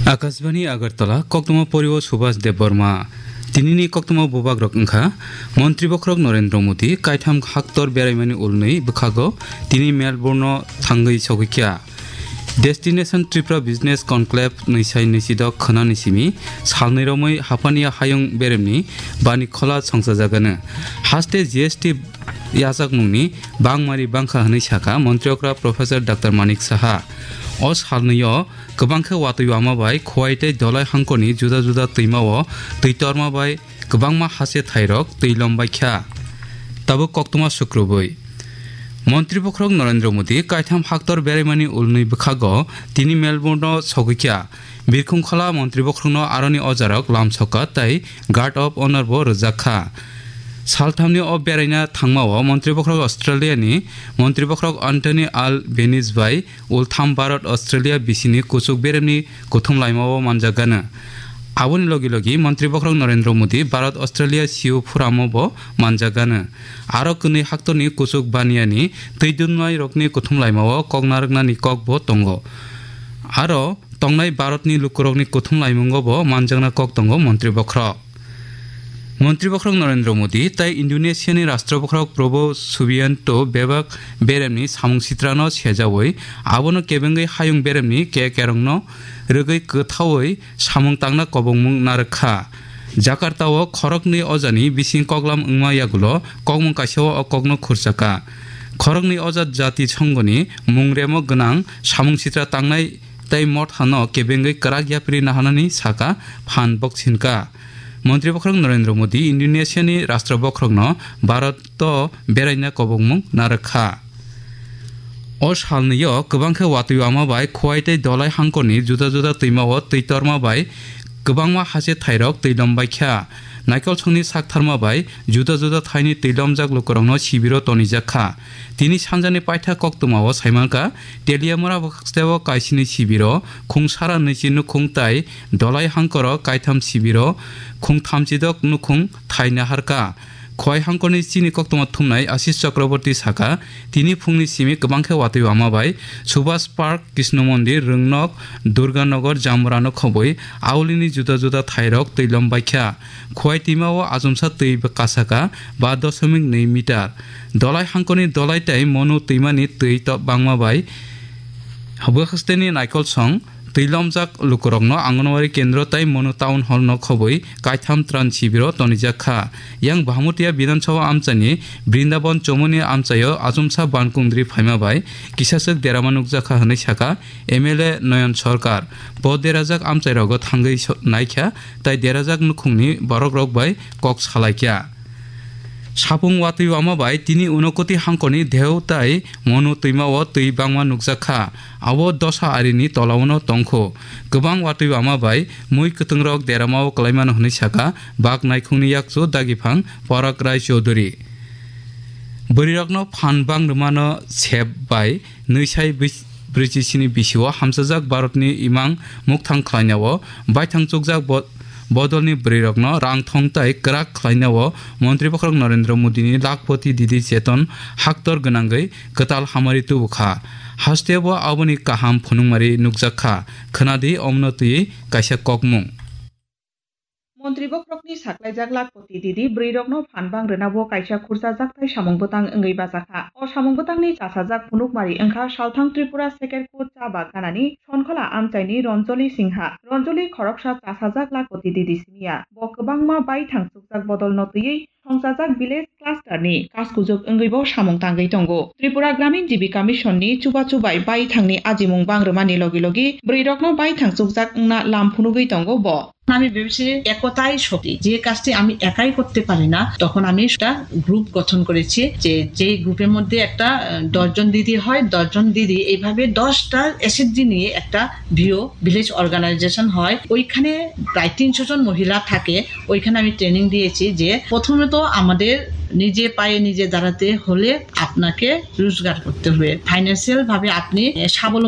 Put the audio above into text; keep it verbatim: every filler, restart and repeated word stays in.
Akashbani Agartala, koktwma porio Subhas Debbarma. Tinini koktwma bubagrok wngkha, Montri Bokhorok Narendra Modi kaitham haktor beraimani ulnwi bwkhago tini Melbourne-o thangwi sogwikha. Destination Tripura Business Conclave nwisai nwisidok khwnani simi salnwi romwi Hapania hayung beremni bani khola songchajagano. Haste G S T yachakmungni bangmari bangkha hwnwi sakha Montri okra Professor Doctor Manik Saha. O salnwio kwbang khe watwi wama bai Khowai tei Dolai hangkorni juda juda twimao twi torma bai kwbangma hase thairok twi lombaikha. Tabuk koktwma sukrubwi. Montri Bokhorok Narendra Modi kaitham haktor beraimani ulnwi bwkhago tini Melbourne-o sogwikha. Birkhung khola Montri Bokhorokno aroni ojarok lamsoka tei Guard of Honor bo rwjakha. Salthamni o beraina thangmao Montri Bokhorok Australia-ni Montri Bokhorok Anthony Albanese bai ultham Bharat Australia bisini kuchuk beremni kuthum laimao manjakgano. Aboni logi logi Montri Bokhorok Narendra Modi Bharat Australia siu phuramo bo manjakgano. Aro kwnwi haktorni kuchuk baniani twi dunmai rokni kuthum laimao kok narwknani kok bo tongo. Aro tongnai Bharatni lukurokni kuthum laimungo bo manjakna kok tongo Montri Bokhorok. Montri Bokhorok Narendra Modi tei Indonesiani Rashtra Bokhorok Prabowo Subianto bebak beremni samung sitrano sejawi abono kebengwi hayung beremni ke kerongno rwgwi kwthawi samung tangna kobongmung narwkha. Jakarta-o khoroknwi ojani bising koklam wngma yagulo kokmung kaisa-o o kokno khurchaka. Khoroknwi oja jati songoni mungremo gwnang samung sitra tangnai tei mothano kebengwi kwrak yapri naharnani saka phan boksinka. Montri Bokhorok Narendra Modi Indonesiani Rashtra Bokhorokno Bharat-o beraina kobongmung narwkha. O salnwio kwbang khe watwi wama bai Khowai tei Dolai hangkorni juda juda twimao twi torma bai kwbangma hase thairok twi lombaikha. Naikolsongni saktharma bai juda juda thaini twi lomjak lukurokno sibiro tonijakha. Tini sanjani paitha koktwmao saimankha, Teliamura bwkhaksteo kaisini sibiro khung sara nwichi nukhung tai Dolai hangkoro kaitham sibiro khung thamchidok nukhung thai naharkha. Khowai hangkorni chini koktwma thumnai Ashish Chakraborty saka, tini phungni simi kwbang khe watwi wama bai Subhas Park, Krishna Mondir, Rwngnok, Durganagar, Jamurano khobwi aulini juda juda thairok twi lombaikha. Khowai twimao achomsa twi kasaka ba dosomik nwi meter. Dolai hangkorni Dolai tei Monu twimani twi to bangma bai bwkhaksteni naikolsong twi lomjak lukurokno Anganwadi kendro tei Monu Town Hall no khobwi kaitham tran sibiro tonijakha. Yang Bahamutia Bidhan Sabha amchaini Brindaban Chomoni amchaio achomsa bankungdri phaima bai kisaswk derama nukjakha hwnwi saka M L A Noyon Sarkar. Bo derajak amchairogo thangwi so-, naikha tei derajak nukhungni borokrok bai kok salaikha. Sapung watwi wama bai tini Unakoti hangkorni Dheu tai Monu twimao twi bangma nukjakha. Abo dosa arini tolao no tongkho. Kwbang watwi wama bai mui kwtwngrok deramao kwlaimano hwnwi saka bak naikhungni yakchu dagiphang Parak Rai Chaudhury. Bwrwirokno phan bang rwmano sep bai nwisai bwis-, brwichi sini bisio hamchajak Bharatni imang mukthang khlainao baithang chukjak bo-, bodolni bwrwirokno rang thong tai kwrak khlainao Montri Bokhorok Narendra Modini Lakhpati Didi Cheton haktor gwnangwi kwtal hamari tubukha. Hasteo aboni kaham phunukmari nukjakha. Khwnadi omno twiwi kaisa kokmung. Montri bokhorokni saklaijak Lakhpati Didi bwrwirokno phan bang rwnabo kaisa khursa jakthai samung bwtang wngwi bajakha. O samung bwtangni chasajak phunukmari wngkha Salthang Tripura Sekerkut cha baganani Sonkhola amchaini Ronjoli Singha. Ronjoli khoroksa chasajak Lakhpati Didi simiya. Bo kwbangma baithang chukjak bodolno twiwi songchajak village cluster ni kaskujok wngwi bo samung tangwi tongo. Tripura Gramin Jibika Mission ni chubachu bai baithang ni ajimung bang rwmani logi logi bwrwi rokno baithang chukjak wngna lam phunugwi tongo bo. আমি ভেবেছি একতাই শক্তি, যে কাজটি আমি একাই করতে পারি না, তখন আমি একটা গ্রুপ গঠন করেছি, যে যেই গ্রুপের মধ্যে একটা আহ, দশজন দিদি হয়, দশজন দিদি এইভাবে দশটা এসএইচজি নিয়ে একটা ভিও ভিলেজ অর্গানাইজেশন হয়। ওইখানে প্রায় তিনশো জন মহিলা থাকে। ওইখানে আমি ট্রেনিং দিয়েছি যে প্রথমে তো আমাদের নিজে পায়ে নিজে দাঁড়াতে হলে আপনাকে রোজগার করতে হবে, ফাইন্যান্সিয়াল ভাবে আপনি আহ, স্বাবলম্বী